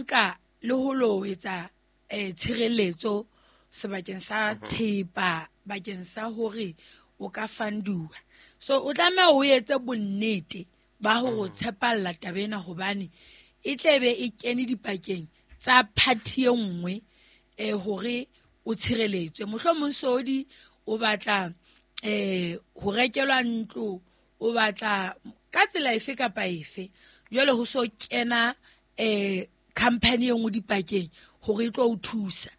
nka le ho lo etsa tshireletso sebakeng sa thepa bakeng sa hore o ka fanduwa. So o tlameha o etse bonnete ba hore o tshepalla taba ena, hobane e tlebe e kene dipakeng tsa party e nngwe hore o tshireletswe. Mohlomong Sodi o batla ho rekelwa ntlo, o batla ka tsela efe kapa efe. Jwale ho so kena company e nngwe dipakeng hore e tlo o thusa.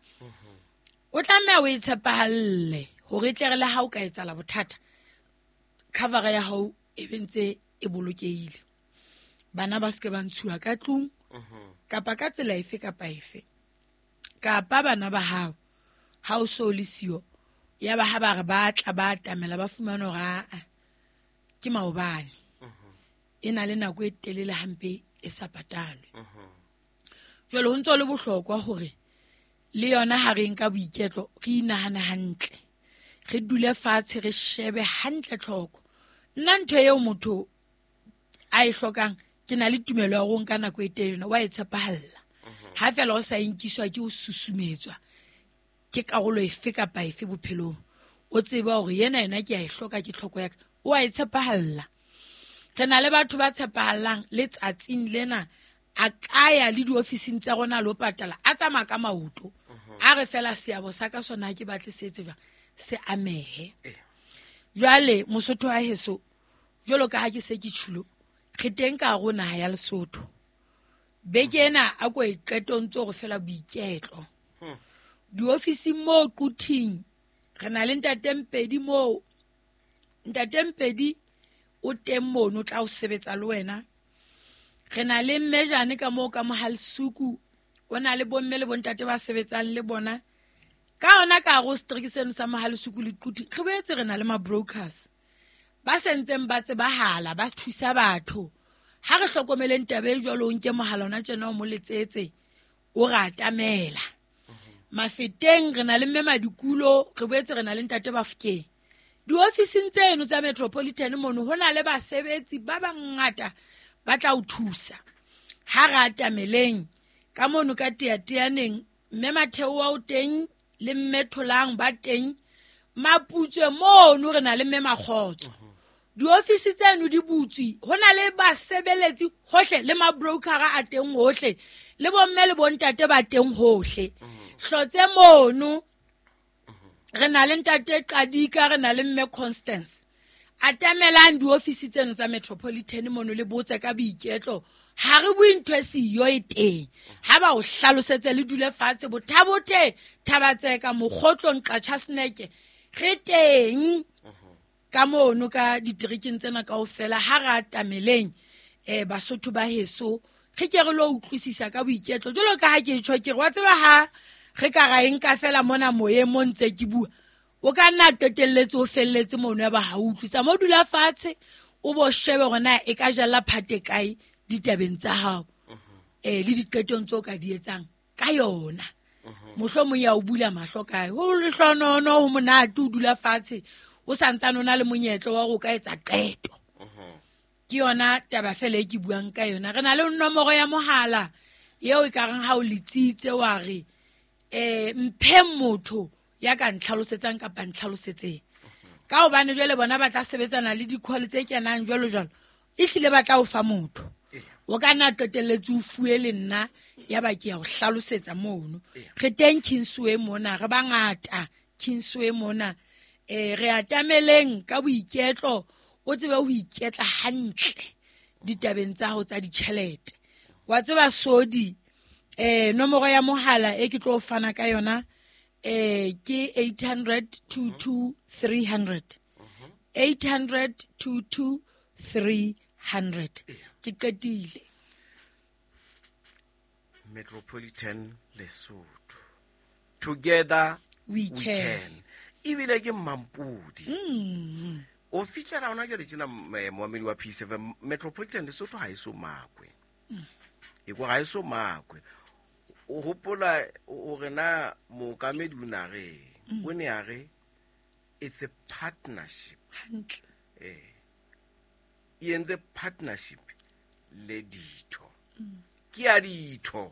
O tlameha o e tshepahalle hore e tle re le ha o ka etsahala bothata, cover ya hao e be ntse e bolokehile. Bana ba seke ba ntshuwa ka tlung kapa ka tsela efe kapa efe, kapa bana ba hao ha o so le siyo, ya ba ha ba re ba tla ba atamela ba fumana hore aa ke maobane, e na le nako e telele hampe e sa patalwe. Jwale ho ntso le bohlokwa hore le yona ha re nka boiketlo re inahane hantle, re dule fatshe re shebe hantle tlhoko. Nna ntho eo motho a e hlokang, ke na le tumelo ya hore o nka nako e telele, wa e tshepahalla. Ha fela o sa inkiswa ke ho susumetswa ke karolo efe kapa efe bophelong, o tseba hore yena yena ke a e hloka, ke tlhoko ya ka, o a e tshepahalla. Re na le batho ba tshepahallang letsatsing lena, a ka ya le diofising tsa rona lo patala, a tsamaya ka maoto, a re fela seabo sa ka sona ha ke batle se etse jwang, se amehe. Jwale Mosotho wa heso, jwalo ka ha ke se ke tjhulo, re teng ka hare ho naha ya Lesotho. Beke ena a ko e qeto ntse hore fela boiketlo. Diofising moo Quthing, re na le Ntate Mpedi moo. Ntate Mpedi o teng mono, o tla o sebetsa le wena. Re na le Mmejane ka moo ka Mohalsuku, o na le bomme le bontate ba sebetsang le bona. Ka hona ka hare ho setereke seno sa Mohalsuku le Quthing, re boetse re na le ma-brokers ba sentseng ba tsebahala, ba thusa batho. Ha re hlokomeleng taba e jwalo, o nke mohala ona tjena o mo letsetse, o re atamela. Mafeteng re na le mme Madikulo, re boetse re na le ntate Bafokeng. Diofising tseno tsa Metropolitan mono ho na le basebetsi ba bangata ba tla o thusa. Ha re atameleng ka mono ka Teateaneng, mme Matheo wa o teng le mme Tholang ba teng. Maputswe mono re na le mme Makgotso. Diofisi tseno di butswe, ho na le basebeletsi hohle, le ma-brokera a teng hohle, le bomme le bontate ba teng hohle. Hlotse mono re na le ntate Qadika, re na le mme Constance. Atamelang diofisi tseno tsa Metropolitan mono le botse ka boiketlo. Ha re bue ntho e siyo e teng. Ha ba o hlalosetse le dule fatshe, Bothabothe, Thabatseka, Mokgotlong, Qachaseneke, re teng ka mono ka diterekeng tsena kaofela. Ha re atameleng Basotho ba heso, re ke re lo utlwisisa ka boiketlo. Jwalo ka ha ke tjho, ke re wa tseba ha re ka ra e nka fela mona moyeng mo ntse ke bua, o ka nna qetelletse o felletse mono ya ba ha o utlwisa. Mo dula fatshe o bo shebe hore na e ka jalla phate kae ditabeng tsa hao, le diqetong tseo ka di etsang ka yona. Mohlomong ya o bula mahlo kae, ho lehlonono, ho monate o dula fatshe o santsane o na le monyetla wa hore o ka etsa qeto. Ke yona taba fela e ke buang ka yona. Re na le nomoro ya mohala eo e ka reng ha o letsitse wa re mphe motho ya ka ntlhalosetsang kapa ntlhalosetseng. Ka hobane jwale bona ba tla sebetsana le di-call tse kenang jwalo jwalo, ehlile ba tla o fa motho. O ka nna qetelletse o fuwe le nna, ya ba ke ya o hlalosetsa mono. Re teng Kingsway mona, re bangata Kingsway mona. Re atameleng ka boiketlo, o tsebe ho iketla hantle ditabeng tsa hao tsa ditjhelete. Wa tseba Sodi, nomoro ya mohala e ke tlo fana ka yona, ke 800 22 300. 800 22 300. Ke qetile. Metropolitan Lesotho. Together we we can. can. Ebile ke Mampudi. O fihlela hona jwale tjena, moamedi wa P7, Metropolitan Lesotho ha e so makwe. E kwa ha e so makwe. O hopola hore na mookamedi o na re, o ne a re it's a partnership. Hantle. E entse partnership le ditho. Ke ya ditho.